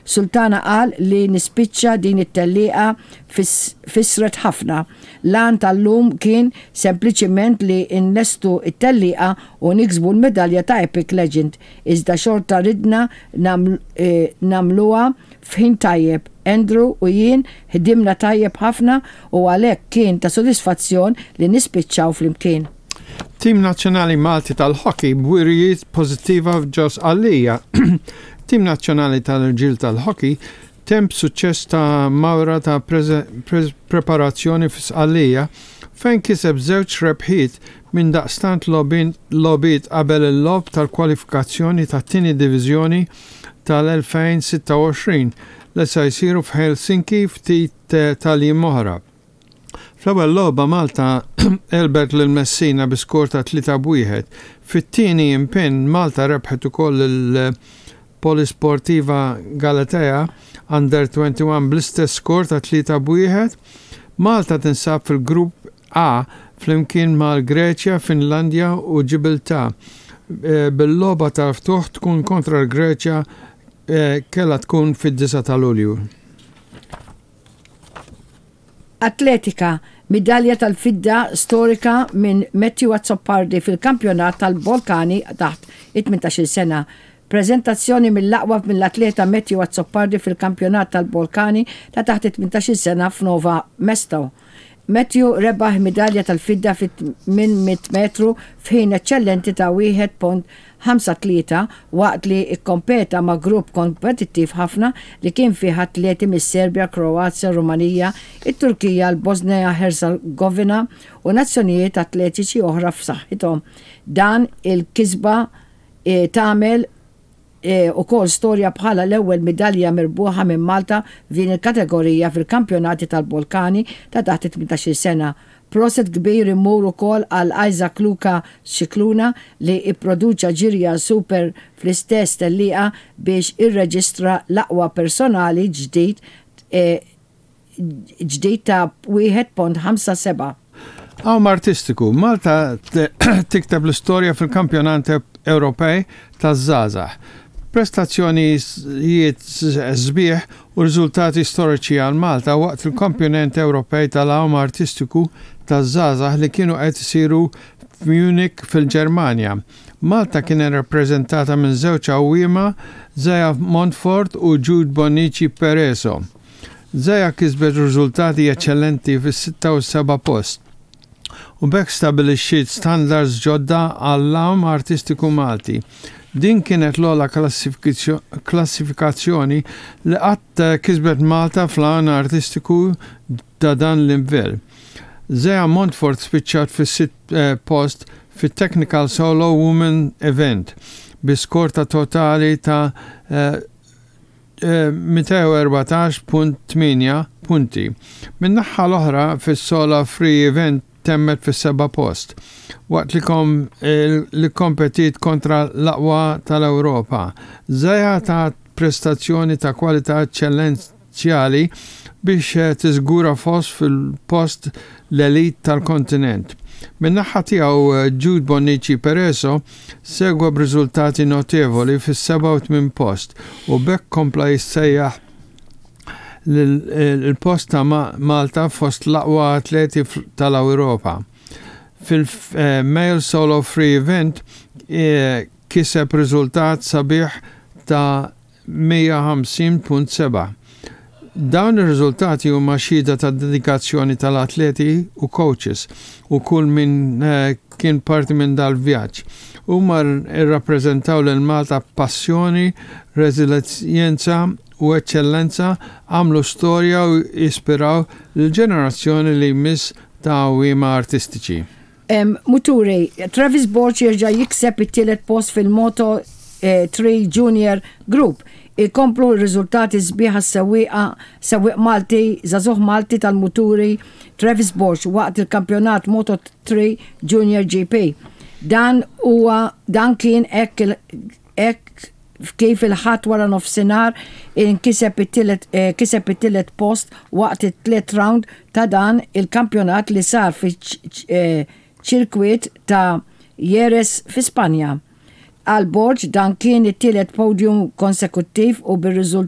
Sultana qal li nispiċċa din it-tellieqa fissret ħafna. L-għan tal-lum kien sempliċiment li nlestu t-tellieqa u niksbu l-medalja ta' Epic Legend, iżda xorta ridna nagħmluha f'ħin tajjeb. Andrew u jien ħdimna tajjeb ħafna u għalhekk kien ta' sodisfazzjon li nispiċċaw flimkien. Tim Nazzjonali Malti tal-Hockey b'wirjiet pożittiva f'ġo Sqallija. Tim Nazzjonali tal-Irġiel tal-Hockey temm b'suċċess ta' mawra ta' preparazzjoni fi Sqallija fejn kiseb żewġ rebħiet minn daqstant logħbiet qabel il-logħob tal-kwalifikazzjoni tat-Tieni Diviżjoni tal-2026 li se jsiru f'Helsinki ftit tal-jiem oħra. Fl-ewwel logħba Malta għelbet lil Messina bi skor ta' 3 b' 1. Fit-tieni impenn Malta rebħet ukoll lil Polisportiva Galatea Under 21 bl-istess skor ta' 3 b' 1. Malta tinsab fil-Grupp A flimkien mal-Greċja, Finlandja u Ġibiltà bil-logħba tal-ftuħ tkun kontra l-Greċja kellha tkun fid-9 ta' Lulju. Atletika, Midalja tal-fidda storika minn Matthew Azzopardi fil-Kampjonat tal-Balkani taħt it-18-il sena. Preżentazzjoni mill-aqwa mill-atleta Matthew Azzopardi fil-Kampjonat tal-Balkani ta' taħt it-18-il sena f'Nova Mesto. Matthew rebaħ midalja tal-fidda fit-800 metru f'ħin eċċellenti ta' 1.53 waqt li kkompeta ma' grupp kompetittiv ħafna li kien fih atleti mis-Serbja, Kroazja, Rumanija, it-Turkija, l-Bożnija-Ħerzegovina u nazzjonijiet atletiċi oħra f'saħħithom. Dan il-kisba tagħmel ukoll storja bħala l-ewwel midalja mirbuħa minn Malta f'din il-kategorija fil-Kampjonati tal-Balkani ta' taħt it-18-il sena. Proset kbir imur ukoll għal Isaac Luca Scicluna li pproduċa ġirja super fl-istess tellieqa biex irreġistra l-aqwa personali ġdid ġdid ta' 1.57. Għawm artistiku, Malta tikteb l-istorja fil-Kampjonat Ewropej taż-Żgħażagħ. Prestazzjonijiet sbieħ u riżultati storiċi għal Malta waqt il-Kampjonent Ewropej tal-Għawm Artistiku taż-Żgħażagħ li kienu qed isiru f'Munich fil-Ġermanja. Malta kienet rappreżentata minn żewġ għawwiema, Zaya Montfort u Jude Bonnici Pereso. Zaya kisbet riżultati eċċellenti fis-sitta u s-seba' post, u b'hekk stabilixxiet standards ġodda għall-għawm artistiku Malti. Din kienet l-ogħla klassifikazzjoni li qatt kisbet Malta fl-għan artistiku ta' dan l-livell. Zaya Montfort spiċċat fis-sitt post fit-Technical Solo Women Event bi skor ta' totali ta' 214.8 punti. Min-naħha l-oħra fis-Sola Free Event temmet fis-seba' post, waqt li kom li kkompetiet kontra l-aqwa tal-Ewropa. Zaya tat prestazzjoni ta' kwalità eċċellenzjali biex tiżgura fost fil-post l-elite tal-kontinent. Min-naħa tiegħu Jude Bonnici Pereso segwa b'riżultati notevoli fis-seba' u tmien post u b'hekk kompla jissejjaħ l-post ta' Malta fost l-aqwa atleti tal-Ewropa. Fil-Male Solo Free Event kiseb riżultat sabiħ ta' 150.7. Dawn ir-riżultati huma xhieda tad-dedikazzjoni tal-atleti u coaches u kull min kien parti minn dal-vjaġġ. Huma rrappreżentaw lil Malta b'passjoni, reżiljenza u eċċellenza, għamlu storja u jispiraw lill-ġenerazzjoni li jmiss ta' għawwiema artistiċi. Muturi, Travis Borg jerġa' jikseb it-tielet post fil-Moto 3 Junior Group. Ikomplu r-riżultati sbieħ għas-sewwieqa sewwieq Malti żagħżugħ Malti tal-muturi Travis Borg waqt il-kampjonat Moto 3 Junior GP. Dan huwa dan kien hekk hekk kif il-Ħadd wara nofsinhar inkiseb it-tielet kiseb it-tielet post waqt it-tliet round ta' dan il-kampjonat li sar fiċ-ċirkwit ta' Jerez fi Spanja. Għal Borg dan kien it-tielet podium konsekuttiv u bir-riżultat